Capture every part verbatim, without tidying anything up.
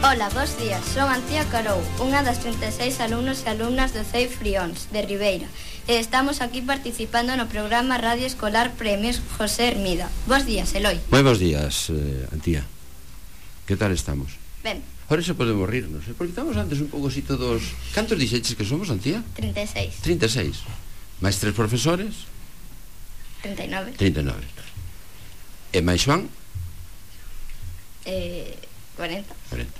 Ola, bos días, son Antía Carou, unha das trinta e seis alumnos e alumnas do C E I Frións, de Ribeira, e estamos aquí participando no programa Radio Escolar Premios José Hermida. Bos días, Eloi. Moi bos días, eh, Antía. Que tal estamos? Ben. Ahora xa podemos rirnos, eh? Porque estamos antes un pouco así todos... Cantos dixeches que somos, Antía? trinta e seis. trinta e seis. Mais tres profesores? trinta e nove. trinta e nove. E máis Joan? Eh, cuarenta. cuarenta.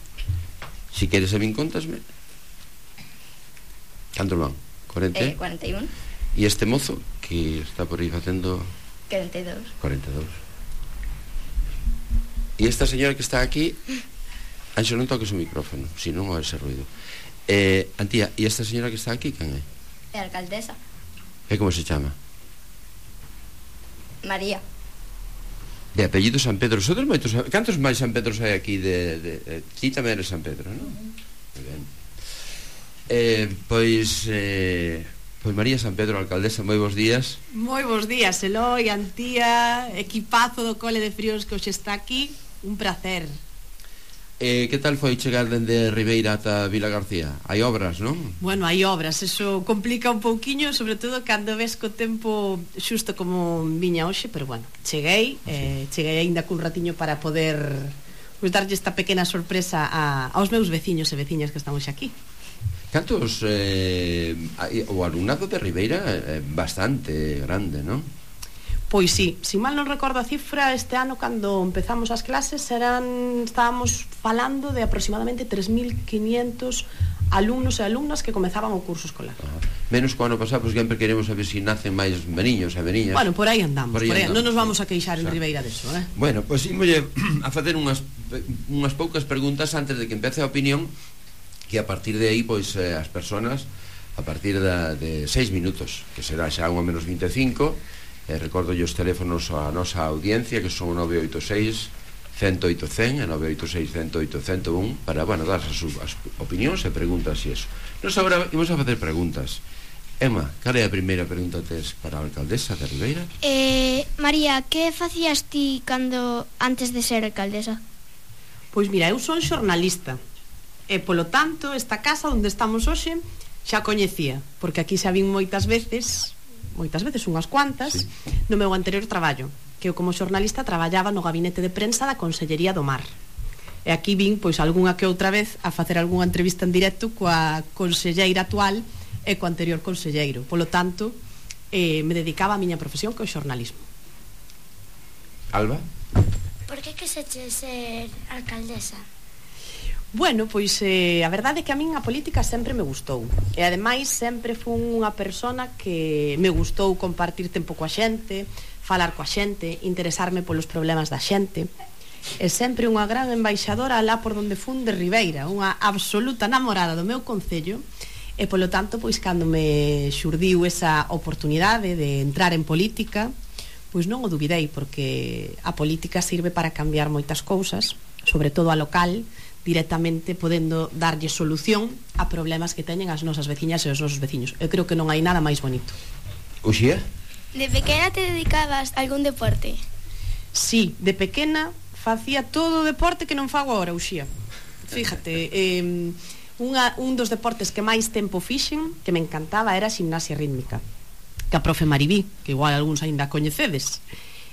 Si queres a min contasme. Canto van? cuarenta? Eh, cuarenta e un. E este mozo que está por aí facendo... cuarenta e dous. cuarenta e dous. E esta señora que está aquí... Anxo, non toques o micrófono, si non o ese ruido. eh, Antía, e esta señora que está aquí, quen é? É a alcaldesa. E como se chama? María. De apellido San Pedro. Sodes moitos... Cantos máis San Pedros hai aquí de... de, de ti tamén eres San Pedro, non? Moi ben. Eh, pois... Eh, pois María San Pedro, alcaldesa, moi bons días. Moi bons días, Eloi, Antía, equipazo do Cole de Frións que hoxe está aquí. Un placer. Eh, que tal foi chegar dende Ribeira ata Vila García? Hai obras, non? Bueno, hai obras, eso complica un pouquiño, sobre todo cando ves co tempo xusto como viña hoxe, pero bueno, cheguei, eh, cheguei aínda cun ratiño para poder pues, darlle esta pequena sorpresa a, aos meus veciños e veciñas que estamos aquí. Cantos... Eh, o alumnado de Ribeira é bastante grande, non? Pois sí, se mal non recordo a cifra, este ano cando empezamos as clases eran, estábamos falando de aproximadamente tres mil quinientos alumnos e alumnas que comezaban o curso escolar. Ah, menos co ano pasado, pois sempre queremos saber se si nacen máis meniños e meniñas. Bueno, por aí andamos, por aí, por aí andamos. Non nos vamos a queixar sí. en Ribeira deso, eh? Bueno, pois imos a facer unhas, unhas poucas preguntas antes de que empece a opinión, que a partir de aí, pois, eh, as personas a partir da, de seis minutos, que será xa unha menos vinte e cinco. Eh, recordo os teléfonos a nosa audiencia, que son nove oito seis, cero oito cero e nove oito seis, cero oito, cero un, para, bueno, dar as, as opinións e preguntas e eso. Nos agora imos a facer preguntas. Emma, cal é a primeira pregunta tes para a alcaldesa de Ribeira? Eh, María, que facías ti cando antes de ser alcaldesa? Pois mira, eu son xornalista e polo tanto esta casa onde estamos hoxe xa coñecía, porque aquí xa vin moitas veces moitas veces, unhas cuantas, sí. No meu anterior traballo, que eu como xornalista traballaba no gabinete de prensa da Consellería do Mar. E aquí vin, pois, algunha que outra vez a facer algunha entrevista en directo coa conselleira actual e co anterior conselleiro. Polo tanto, eh, me dedicaba a miña profesión, que é o xornalismo. Alba? Por que quixeches ser alcaldesa? Bueno, pois eh, a verdade é que a min a política sempre me gustou. E ademais sempre fun unha persona que me gustou compartir tempo coa xente, falar coa xente, interesarme polos problemas da xente. E sempre unha gran embaixadora alá por donde fun de Ribeira, unha absoluta namorada do meu concello. E polo tanto, pois cando me xurdiu esa oportunidade de entrar en política, pois non o dubidei, porque a política sirve para cambiar moitas cousas, sobre todo a local, directamente podendo darlle solución a problemas que teñen as nosas veciñas e os nosos veciños. Eu creo que non hai nada máis bonito. Uxía? De pequena te dedicabas a algún deporte? Sí, de pequena facía todo o deporte que non fago agora, Uxía. Fíjate, eh, unha, un dos deportes que máis tempo fixen, que me encantaba, era a gimnasia rítmica, que a profe Maribí, que igual algúns aínda coñecedes.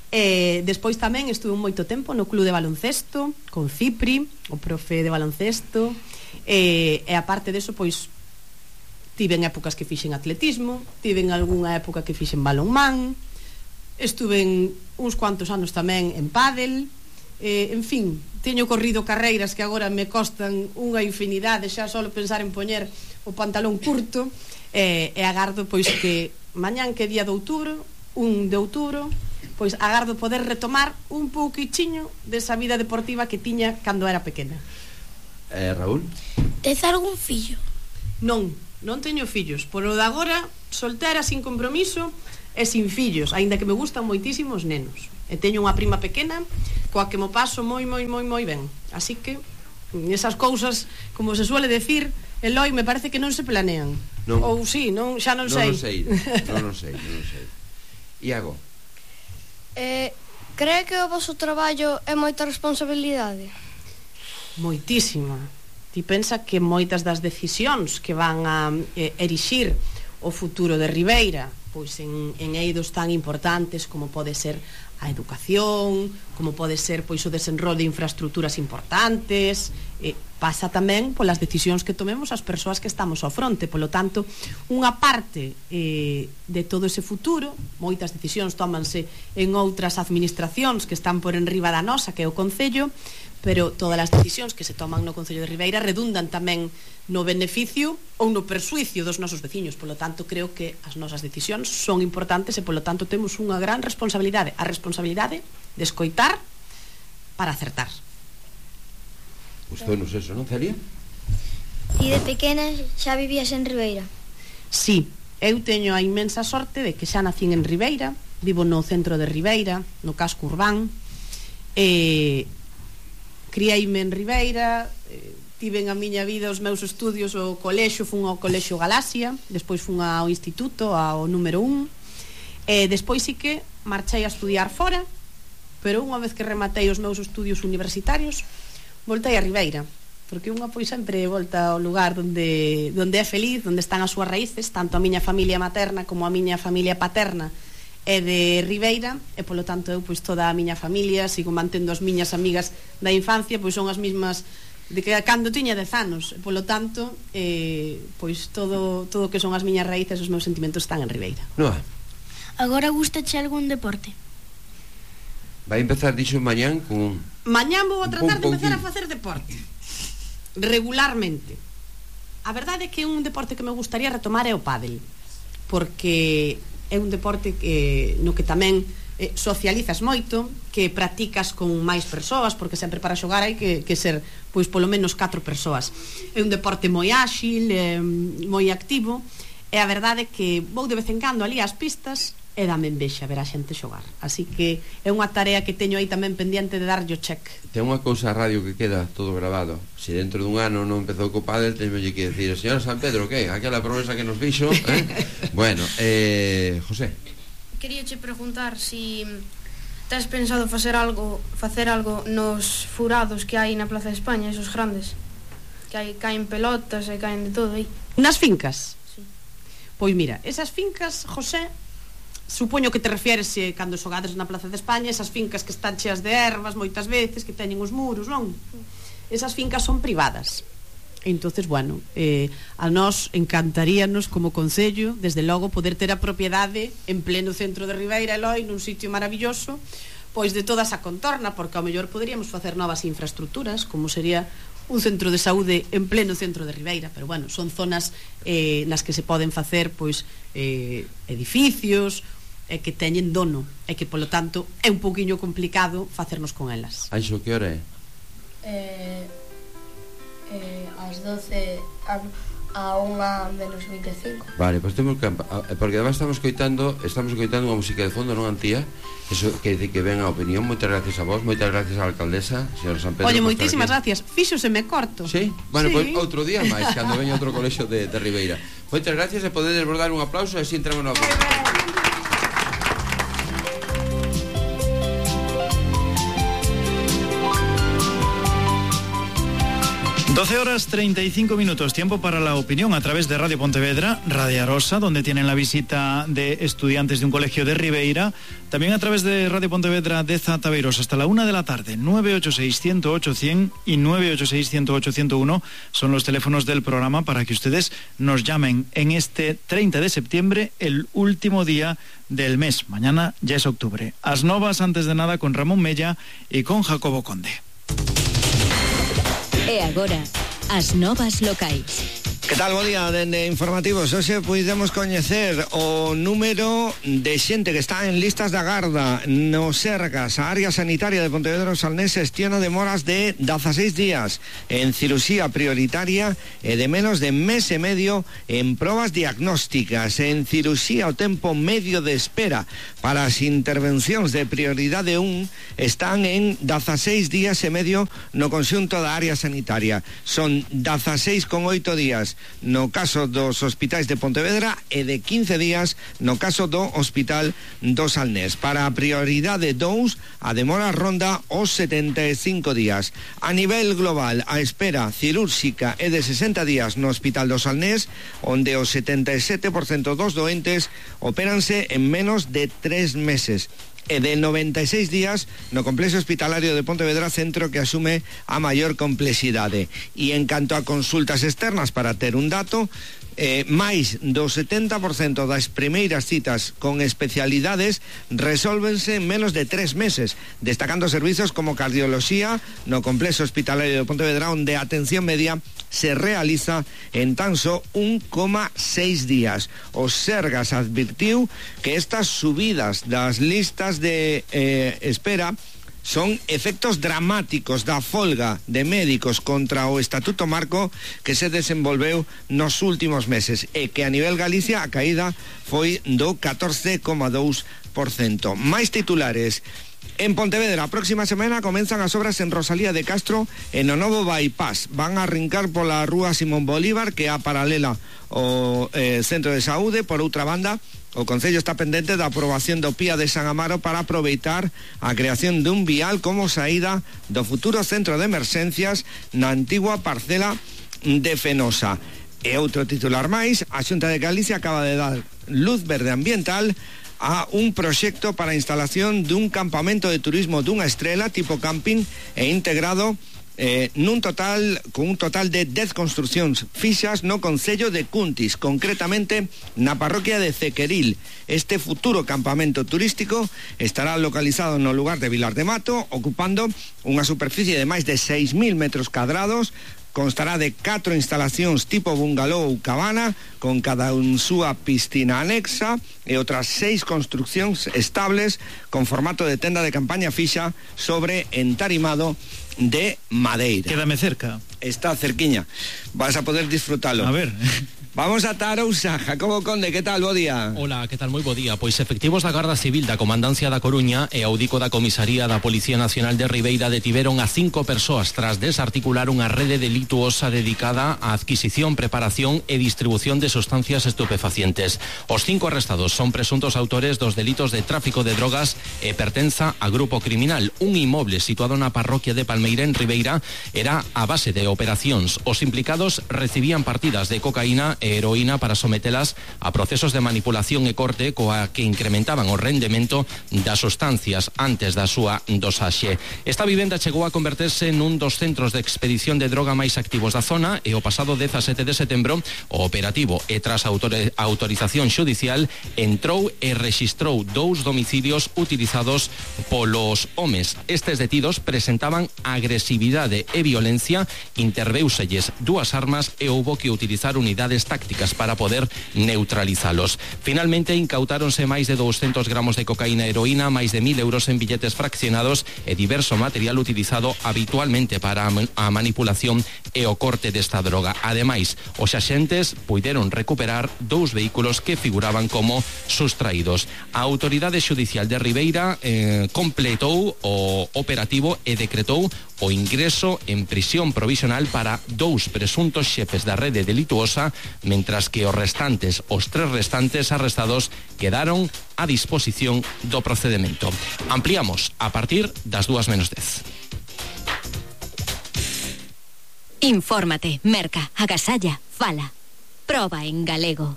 E despois tamén estuve moito tempo no club de baloncesto con Cipri, o profe de baloncesto, e, e aparte deso, pois tiven épocas que fixen atletismo, tiven algunha época que fixen balonmán, estuve en uns cuantos anos tamén en pádel, e, en fin, teño corrido carreiras que agora me costan unha infinidade, xa só pensar en poñer o pantalón curto, e, e agardo pois que mañán, que día de outubro, un de outubro, pois agardo poder retomar un pouquichiño desa vida deportiva que tiña cando era pequena. Eh, Raúl? Tes algún fillo? Non, non teño fillos. Por o de agora, soltera, sin compromiso e sin fillos, aínda que me gustan moitísimo os nenos. E teño unha prima pequena coa que mo paso moi, moi, moi, moi ben. Así que, esas cousas, como se suele decir, Eloi, me parece que non se planean. Non. Ou sí, non, xa non, non sei. Non sei, non, non sei, non sei. Iago? Eh, cree que o vosso traballo é moita responsabilidade? Moitísima, Ti pensa que moitas das decisións que van a eh, erixir o futuro de Ribeira, pois en, en eidos tan importantes como pode ser a educación, como pode ser pois o desenrolo de infraestructuras importantes, eh, pasa tamén polas decisións que tomemos as persoas que estamos ao fronte. Polo tanto, unha parte eh, de todo ese futuro, moitas decisións tómanse en outras administracións que están por enriba da nosa, que é o Concello, pero todas as decisións que se toman no Concello de Ribeira redundan tamén no beneficio ou no persuicio dos nosos veciños. Polo tanto, creo que as nosas decisións son importantes e, polo tanto, temos unha gran responsabilidade, a responsabilidade de escoitar para acertar. Gustou-nos eso, non, Celia? Ti de pequena xa vivías en Ribeira? Sí, eu teño a inmensa sorte de que xa nacín en Ribeira, vivo no centro de Ribeira, no casco urbán, e criaime en Ribeira, eh, tiven a miña vida, os meus estudios, o colexio, fun ao colexio Galaxia, despois fun ao instituto, ao número un, e despois sí que marchei a estudiar fora, pero unha vez que rematei os meus estudios universitarios, voltei a Ribeira, porque unha pois sempre volta ao lugar onde, onde é feliz, onde están as súas raíces, tanto a miña familia materna como a miña familia paterna é de Ribeira, e polo tanto eu pois toda a miña familia, sigo mantendo as miñas amigas da infancia, pois son as mismas de que cando tiña dez anos, e polo tanto eh, pois todo todo que son as miñas raíces, os meus sentimentos están en Ribeira. No. Agora gustache algún deporte? Vai empezar, dixo, mañán con... Mañán vou a tratar un de empezar a pouquinho. facer deporte regularmente. A verdade é que un deporte que me gustaría retomar é o pádel, porque é un deporte que, no que tamén eh, socializas moito, que practicas con máis persoas, porque sempre para xogar hai que, que ser pois polo menos catro persoas. É un deporte moi áxil, eh, moi activo, e a verdade é que vou de vez en cando ali ás pistas e dame envexa ver a xente xogar. Así que é unha tarea que teño aí tamén pendiente de darlle o check. Ten unha cousa a radio que queda todo grabado. Se dentro dun ano non empezou co pádel, teñolle que decir, señora San Pedro, que? Aquela promesa que nos fixo, eh? Bueno, eh, José. Queríache preguntar si tes pensado facer algo, facer algo nos furados que hai na Plaza de España, esos grandes, que hai, caen pelotas e caen de todo aí. Nas fincas? Sí. Pois mira, esas fincas, José, supoño que te refieres eh, cando xogades na Plaza de España, esas fincas que están cheas de ervas moitas veces, que teñen os muros, non? Esas fincas son privadas. Entonces, bueno, eh, a nós encantaríanos como Concello, desde logo, poder ter a propiedade en pleno centro de Ribeira, Eloi, nun sitio maravilloso, pois de toda esa contorna, porque ao mellor poderíamos facer novas infraestructuras, como sería un centro de saúde en pleno centro de Ribeira, pero bueno, son zonas eh, nas que se poden facer pois eh, edificios e que teñen dono e que polo tanto é un pouquiño complicado facernos con elas. Anxo, que hora é? Eh, eh, ás doce a, a unha menos vinte e cinco. Vale, pois temos que... Porque además estamos coitando Estamos coitando unha música de fondo, non, Antía? Eso que dice que ven a opinión. Moitas gracias a vos, moitas gracias á alcaldesa, señora San Pedro. Oye, moitísimas gracias. Fíxoseme corto. Sí? Bueno, sí. Pois outro día máis, cando veña outro colexio de, de Ribeira. Moitas gracias e podedes dar un aplauso e así entramos na opinión. doce horas treinta y cinco minutos, tiempo para la opinión a través de Radio Pontevedra, Radio Arosa, donde tienen la visita de estudiantes de un colegio de Ribeira, también a través de Radio Pontevedra de Zataveiros hasta la una de la tarde. Nueve ocho seis, cien ocho, cien y nueve ocho seis, cien ocho, ciento uno son los teléfonos del programa para que ustedes nos llamen en este treinta de septiembre, el último día del mes. Mañana ya es octubre. As novas, antes de nada, con Ramón Mella y con Jacobo Conde. E agora, as novas locais. Que tal, bo día, dende informativos. Hoxe puidemos coñecer o número de xente que está en listas de agarda no Sergas. A área sanitaria de Pontevedra Salnés xestiona demoras de dezaseis días en cirurxía prioritaria e de menos de mes e medio en probas diagnósticas. En cirurxía o tempo medio de espera para as intervencións de prioridade un están en dezaseis días e medio no conxunto da área sanitaria. Son dezaseis con oito días no caso dos hospitais de Pontevedra e de quince días no caso do Hospital do Salnés. Para a prioridade dous, a demora ronda os setenta e cinco días. A nivel global, a espera cirúrxica é de sesenta días no Hospital do Salnés, onde o setenta e sete por cento dos doentes opéranse en menos de tres meses. E de noventa e seis días no complexo hospitalario de Pontevedra, centro que asume a maior complexidade. E en canto a consultas externas, para ter un dato, eh, máis do setenta por cento das primeiras citas con especialidades resólvense en menos de tres meses, destacando servizos como cardioloxía no complexo hospitalario de Pontevedra, onde a atención media se realiza en tan só un coma seis días. O Sergas advirtiu que estas subidas das listas de eh, espera son efectos dramáticos da folga de médicos contra o Estatuto Marco que se desenvolveu nos últimos meses, e que a nivel Galicia a caída foi do catorce coma dous por cento. Máis titulares. En Pontevedra, a próxima semana comenzan as obras en Rosalía de Castro e no novo bypass. Van a arrincar pola rúa Simón Bolívar, que é a paralela ao eh, Centro de Saúde. Por outra banda, o Concello está pendente da aprobación do P I A de San Amaro para aproveitar a creación dun vial como saída do futuro centro de emerxencias na antigua parcela de Fenosa. E outro titular máis, a Xunta de Galicia acaba de dar luz verde ambiental a un proxecto para a instalación dun campamento de turismo dunha estrela tipo camping e integrado eh, nun total con un total de dez construcións fixas no concello de Cuntis, concretamente na parroquia de Cequeril. Este futuro campamento turístico estará localizado no lugar de Vilar de Mato, ocupando unha superficie de máis de seis mil metros cadrados. Constará de catro instalacións tipo bungalow ou cabana, con cada un súa piscina anexa, e outras seis construcións estables con formato de tenda de campaña fixa sobre entarimado de madeira. Quédame cerca. Está cerquiña. Vas a poder disfrutalo. A ver. Vamos a Tarousa. Jacobo Conde, que tal? Bo día. Hola, que tal? Moi bo día. Pois efectivos da Garda Civil da Comandancia da Coruña e audico da Comisaría da Policía Nacional de Ribeira detiveron a cinco persoas tras desarticular unha rede delituosa dedicada á adquisición, preparación e distribución de sustancias estupefacientes. Os cinco arrestados son presuntos autores dos delitos de tráfico de drogas e pertenza a grupo criminal. Un inmoble situado na parroquia de Palmeira, en Ribeira, era a base de operacións. Os implicados recibían partidas de cocaína e heroína para sometelas a procesos de manipulación e corte coa que incrementaban o rendemento das sustancias antes da súa dosaxe. Esta vivenda chegou a converterse nun dos centros de expedición de droga máis activos da zona, e o pasado dezasete de setembro o operativo, e tras a autorización xudicial, entrou e rexistrou dous domicilios utilizados polos homes. Estes detidos presentaban agresividade e violencia, interveuselles dúas armas e houbo que utilizar unidades tácticas para poder neutralizalos. Finalmente incautáronse máis de doscientos gramos de cocaína e heroína, máis de mil euros en billetes fraccionados e diverso material utilizado habitualmente para a manipulación e o corte desta droga. Ademais, os axentes puideron recuperar dous vehículos que figuraban como sustraídos. A Autoridade Xudicial de Ribeira eh, completou o operativo e decretou o ingreso en prisión provisional para dous presuntos xefes da rede delituosa, mentras que os restantes, os tres restantes arrestados, quedaron a disposición do procedemento. Ampliamos a partir das dúas menos dez. Infórmate, merca, agasalla, fala. Proba en galego.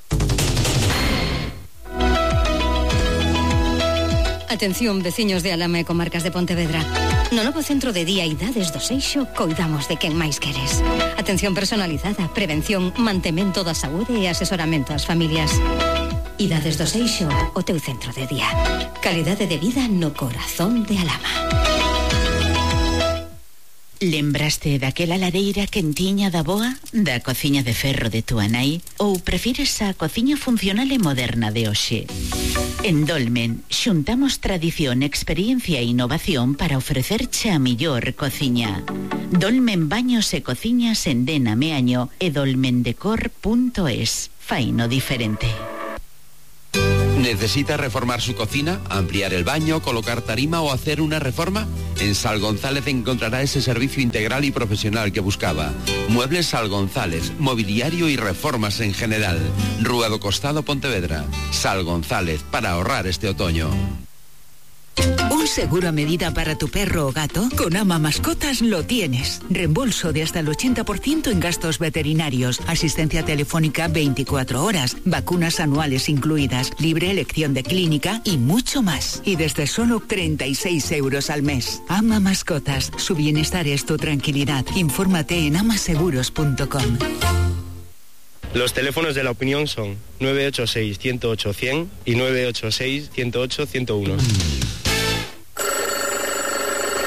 Atención, veciños de Alama e comarcas de Pontevedra. No novo centro de día Idades do Seixo coidamos de quen máis queres. Atención personalizada, prevención, mantemento da saúde e asesoramento ás familias. Idades do Seixo, o teu centro de día. Calidade de vida no corazón de Alama. Lembraste daquela lareira quentiña da boa, da cociña de ferro de túa nai, ou prefires a cociña funcional e moderna de hoxe? En Dolmen xuntamos tradición, experiencia e innovación para ofrecerche a millor cociña. Dolmen Baños e Cociñas en Dena Meaño e dolmendecor punto es. Faino diferente. ¿Necesita reformar su cocina, ampliar el baño, colocar tarima o hacer una reforma? En Sal González encontrará ese servicio integral y profesional que buscaba. Muebles Sal González, mobiliario y reformas en general. Rúa do Costado, Pontevedra. Sal González, para ahorrar este otoño. ¿Un seguro a medida para tu perro o gato? Con Ama Mascotas lo tienes. Reembolso de hasta el ochenta por ciento en gastos veterinarios, asistencia telefónica veinticuatro horas, vacunas anuales incluidas, libre elección de clínica y mucho más. Y desde solo treinta y seis euros al mes. Ama Mascotas, su bienestar es tu tranquilidad. Infórmate en amaseguros punto com. Los teléfonos de la opinión son nueve ocho seis, ciento ocho, cien y nueve ocho seis, ciento ocho, ciento uno.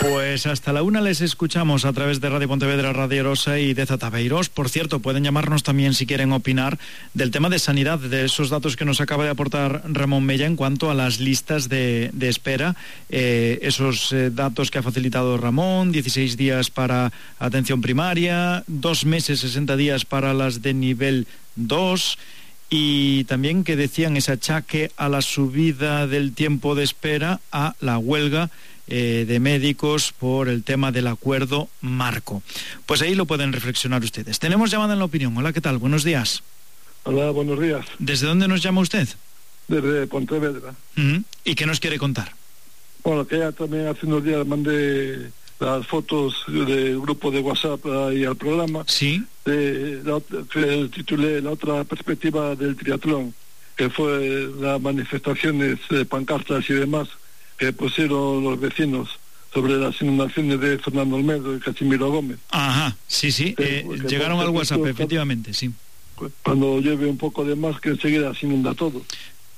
Pues hasta la una les escuchamos a través de Radio Pontevedra, Radio Arosa y de Zataveiros. Por cierto, pueden llamarnos también si quieren opinar del tema de sanidad, de esos datos que nos acaba de aportar Ramón Mella en cuanto a las listas de, de espera. Eh, esos eh, datos que ha facilitado Ramón, dieciséis días para atención primaria, dos meses, sesenta días para las de nivel dos... y también que decían ese achaque a la subida del tiempo de espera a la huelga eh, de médicos por el tema del acuerdo marco. Pues ahí lo pueden reflexionar ustedes. Tenemos llamada en la opinión. Hola, ¿qué tal? Buenos días. Hola, buenos días. ¿Desde dónde nos llama usted? Desde Pontevedra. Uh-huh. ¿Y qué nos quiere contar? Bueno, que ya también hace unos días mandé las fotos del grupo de WhatsApp ahí al programa. Sí. De la, que titulé La otra perspectiva del triatlón, que fue las manifestaciones, eh, pancartas y demás que pusieron los vecinos sobre las inundaciones de Fernando Olmedo y Casimiro Gómez. Ajá, sí, sí, eh, que, llegaron al WhatsApp, esto, efectivamente, sí. Cuando llueve un poco de más, que enseguida se inunda todo.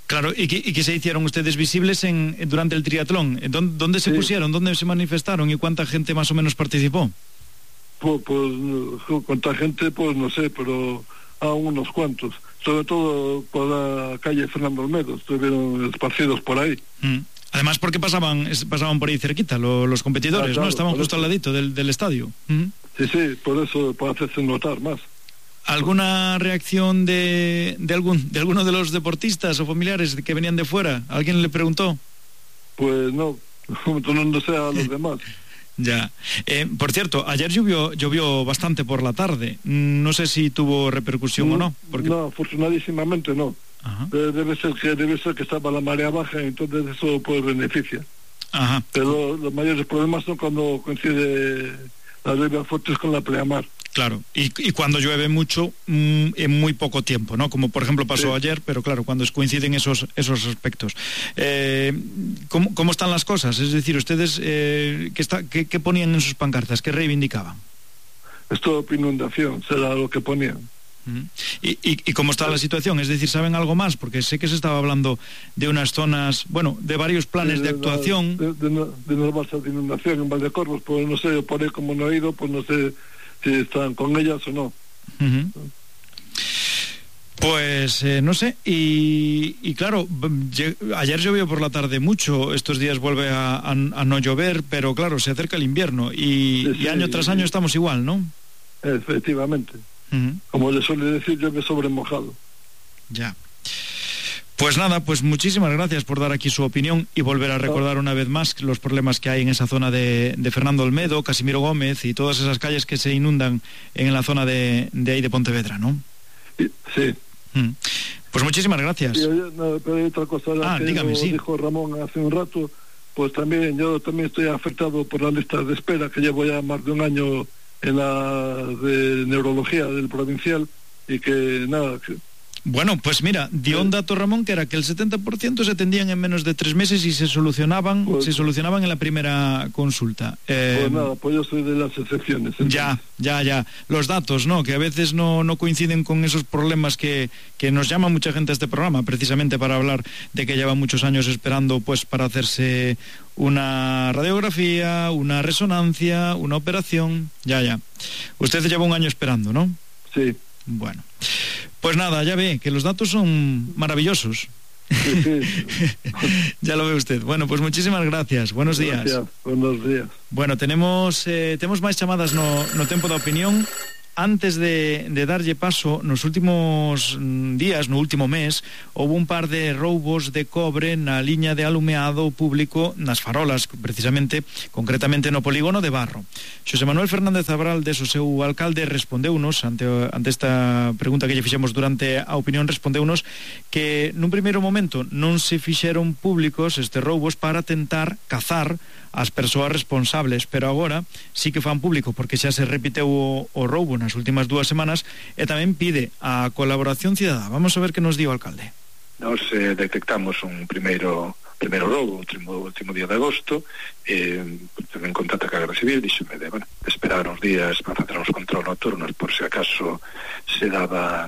Claro, ¿y qué, y qué se hicieron ustedes visibles en, durante el triatlón? ¿Dónde, dónde se sí. pusieron? ¿Dónde se manifestaron? ¿Y cuánta gente más o menos participó? Pues, pues cuánta gente, pues no sé, pero a unos cuantos. Sobre todo por la calle Fernando Olmedo, estuvieron esparcidos por ahí. Mm. Además, porque pasaban pasaban por ahí cerquita lo, los competidores, ah, claro, ¿no? Estaban justo eso. Al ladito del, del estadio. Mm. Sí, sí, por eso, para hacerse notar más. ¿Alguna reacción de, de algún de alguno de los deportistas o familiares que venían de fuera? ¿Alguien le preguntó? Pues no, no, no sé a los demás. Ya. Eh, por cierto, ayer llovió, llovió bastante por la tarde. No sé si tuvo repercusión no, o no. Porque... No, afortunadísimamente no. Ajá. Debe ser que debe ser que estaba la marea baja, entonces eso pues beneficia. Ajá. Pero los mayores problemas son cuando coincide las lluvias fuertes con la pleamar. Claro, y, y cuando llueve mucho mmm, en muy poco tiempo, ¿no? Como por ejemplo pasó sí. ayer, pero claro, cuando coinciden esos esos aspectos. Eh, ¿cómo, ¿Cómo están las cosas? Es decir, ustedes, eh, ¿qué, está, qué, ¿qué ponían en sus pancartas? ¿Qué reivindicaban? Stop inundación, será lo que ponían. Uh-huh. ¿Y, y, ¿Y cómo está la situación? Es decir, ¿saben algo más? Porque sé que se estaba hablando de unas zonas, bueno, de varios planes de, de, de actuación. De, de, de, de unas balsas de inundación en Valdecorvos, pues no sé, por ahí como no he ido, pues no sé si están con ellas o no. Uh-huh. Pues eh, no sé, y, y claro, ayer llovió por la tarde mucho, estos días vuelve a, a, a no llover, pero claro, se acerca el invierno y, sí, sí, y año tras año estamos igual, ¿no? Efectivamente. Uh-huh. Como le suele decir, llueve sobre mojado. Ya. Pues nada, pues muchísimas gracias por dar aquí su opinión y volver a recordar una vez más los problemas que hay en esa zona de, de Fernando Olmedo, Casimiro Gómez y todas esas calles que se inundan en la zona de, de ahí de Pontevedra, ¿no? Sí. Mm. Pues muchísimas gracias. Sí, no, pero hay otra cosa ah, que dígame, sí. dijo Ramón hace un rato, pues también yo también estoy afectado por las listas de espera, que llevo ya más de un año en la de neurología del provincial y que nada... Que, Bueno, pues mira, dio un dato Ramón que era que el setenta por ciento se atendían en menos de tres meses y se solucionaban pues, se solucionaban en la primera consulta. Eh, pues nada, pues yo soy de las excepciones. Entonces. Ya, ya, ya. Los datos, ¿no? Que a veces no, no coinciden con esos problemas que, que nos llama mucha gente a este programa, precisamente para hablar de que lleva muchos años esperando pues para hacerse una radiografía, una resonancia, una operación. Ya, ya. Usted lleva un año esperando, ¿no? Sí. Bueno. Pues nada, ya ve que los datos son maravillosos. Sí, sí. Ya lo ve usted. Bueno, pues muchísimas gracias. Buenos días. Gracias. Buenos días. Bueno, tenemos eh, temos máis chamadas no, no tempo da opinión. antes de, de darlle paso, nos últimos días, no último mes, houve un par de roubos de cobre na liña de alumeado público nas farolas, precisamente, concretamente no polígono de Barro. Xosé Manuel Fernández Abraldes, o seu alcalde, respondeunos ante, ante esta pregunta que lle fixemos durante a opinión, respondeunos que nun primeiro momento non se fixeron públicos estes roubos para tentar cazar as persoas responsables, pero agora sí que fan público porque xa se repiteu o, o roubo nas últimas dúas semanas e tamén pide a colaboración cidadá. Vamos a ver que nos di o alcalde. Nos eh, detectamos un primeiro primeiro roubo, o último, último día de agosto, eh, en contacto ca Garda Civil, díxome de, bueno, de esperar uns días para facer uns control nocturnos por se acaso se daba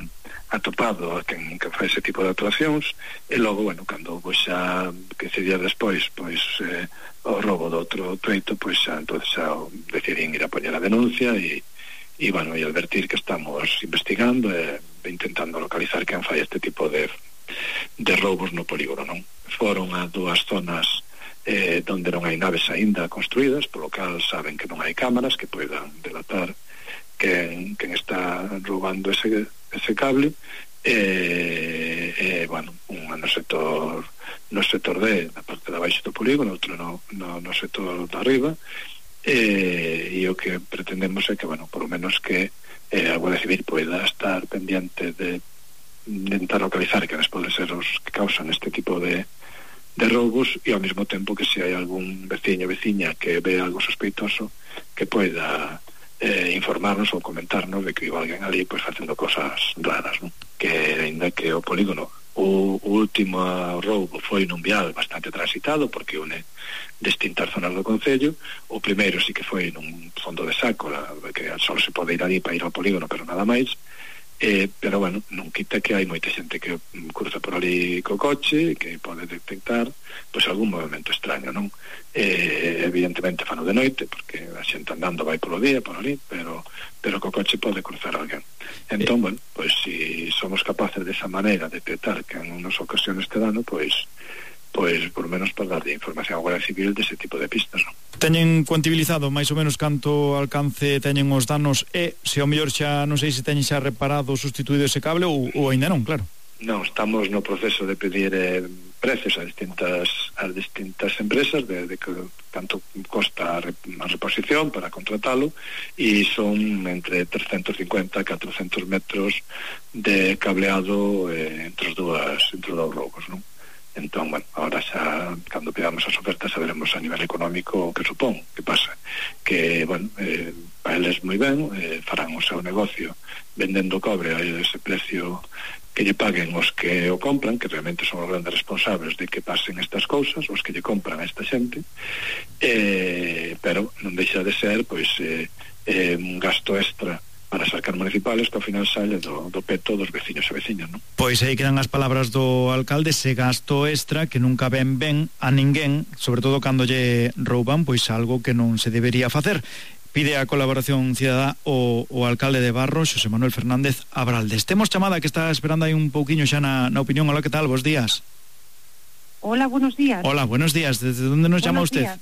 atopado a quen, quen fai ese tipo de actuacións, e logo, bueno, cando pois xa quince días despois pois eh, o roubo do outro treito, pois xa entonces xa decidín ir a poñer a denuncia e, e bueno, e advertir que estamos investigando e intentando localizar quen fai este tipo de de roubos no polígono, non? Foron a dúas zonas eh, donde non hai naves aínda construídas, polo cal saben que non hai cámaras que poidan delatar quen, quen está roubando ese, ese cable e, e bueno, un no sector no sector D, na parte de abaixo do polígono, outro no, no, no sector de arriba, e, e o que pretendemos é que, bueno, por lo menos que eh, a Guardia Civil poida estar pendiente de intentar localizar quenes poden ser os que causan este tipo de, de roubos e ao mesmo tempo que se hai algún veciño ou veciña que ve algo sospeitoso que poida eh, informarnos ou comentarnos de que iba alguén ali pois facendo cosas raras, non? Que ainda que o polígono o, o último roubo foi nun vial bastante transitado porque une distintas zonas do concello, o primeiro sí que foi nun fondo de saco, que só se pode ir ali para ir ao polígono pero nada máis. Eh, pero bueno, non quita que hai moita xente que cruza por ali co coche que pode detectar pois algún movimento extraño, non? Eh, evidentemente fano de noite porque a xente andando vai polo día por ali, pero pero co coche pode cruzar alguén. Entón, bueno, pois si somos capaces desa maneira de detectar que en unas ocasiones te dano, pois pois por lo menos para dar de información á Guardia Civil dese tipo de pistas, non? Teñen cuantibilizado máis ou menos canto alcance teñen os danos e se ao mellor xa non sei se teñen xa reparado ou sustituído ese cable ou, ou ainda non, claro. Non, estamos no proceso de pedir eh, precios a distintas a distintas empresas de, de que tanto costa a, rep, a reposición para contratalo e son entre trescentos cincuenta e catrocentos metros de cableado eh, entre os dúas entre os dous roubos, non? Entón, bueno, ahora xa cando pidamos as ofertas saberemos a nivel económico o que supón, que pasa que, bueno, eh, para eles moi ben eh, farán o seu negocio vendendo cobre a ese precio que lle paguen os que o compran, que realmente son os grandes responsables de que pasen estas cousas, os que lle compran a esta xente, eh, pero non deixa de ser pois eh, eh, un gasto extra para as arcas municipales que ao final sale do, do peto dos veciños e veciñas, non? Pois aí quedan as palabras do alcalde, ese gasto extra que nunca ven ben a ninguén, sobre todo cando lle rouban pois algo que non se debería facer. Pide a colaboración cidadá o, o alcalde de Barro, Xosé Manuel Fernández Abraldes. Temos chamada que está esperando aí un pouquiño xa na, na opinión. Hola, que tal? Bos días. Hola, buenos días. Hola, buenos días. ¿Desde dónde nos llama usted? Días.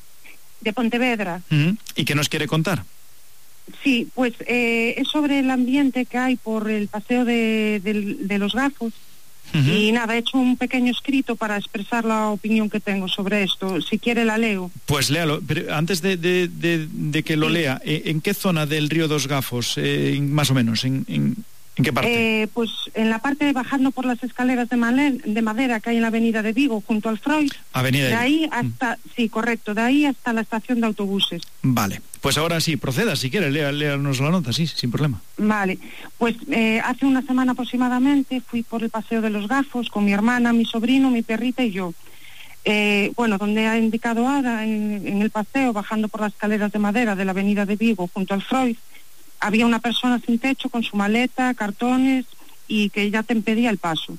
De Pontevedra. Uh-huh. ¿Y qué nos quiere contar? Sí, pues eh, es sobre el ambiente que hay por el paseo de, de, de los Gafos. Uh-huh. Y nada, he hecho un pequeño escrito para expresar la opinión que tengo sobre esto. Si quiere la leo. Pues léalo, pero antes de, de, de, de que lo sí. lea, ¿en qué zona del río dos Gafos, eh, más o menos? ¿En, en, en qué parte? Eh, pues en la parte de bajando por las escaleras de, Malen, de madera que hay en la avenida de Vigo, junto al Freud. Avenida de ahí hasta, mm. sí, correcto, de ahí hasta la estación de autobuses. Vale, pues ahora sí, proceda, si quiere, lea, léanos la nota, sí, sin problema. Vale, pues eh, hace una semana aproximadamente fui por el paseo de los Gafos con mi hermana, mi sobrino, mi perrita y yo. Eh, bueno, donde ha indicado Ada, en, en el paseo, bajando por las escaleras de madera de la avenida de Vigo, junto al Freud, había una persona sin techo con su maleta, cartones y que ya te impedía el paso.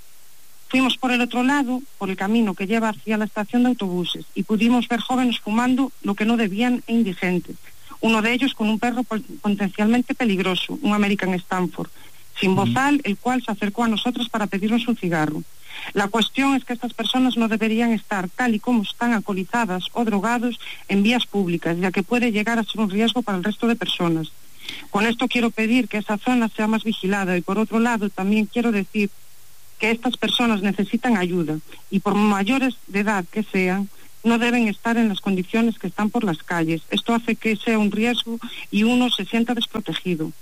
Fuimos por el otro lado, por el camino que lleva hacia la estación de autobuses, y pudimos ver jóvenes fumando lo que no debían e indigentes. Uno de ellos con un perro potencialmente peligroso, un American Stanford, sin bozal, el cual se acercó a nosotros para pedirnos un cigarro. La cuestión es que estas personas no deberían estar tal y como están alcoholizadas o drogados en vías públicas, ya que puede llegar a ser un riesgo para el resto de personas. Con esto quiero pedir que esa zona sea más vigilada y por otro lado también quiero decir que estas personas necesitan ayuda y por mayores de edad que sean, no deben estar en las condiciones que están por las calles. Esto hace que sea un riesgo y uno se sienta desprotegido.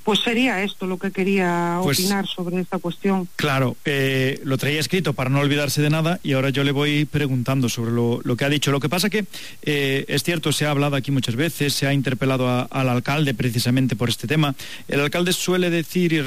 Pues sería esto lo que quería Pues, opinar sobre esta cuestión. Claro, eh, lo traía escrito para no olvidarse de nada y ahora yo le voy preguntando sobre lo, lo que ha dicho. Lo que pasa que eh, es cierto, se ha hablado aquí muchas veces, se ha interpelado a, al alcalde precisamente por este tema. El alcalde suele decir y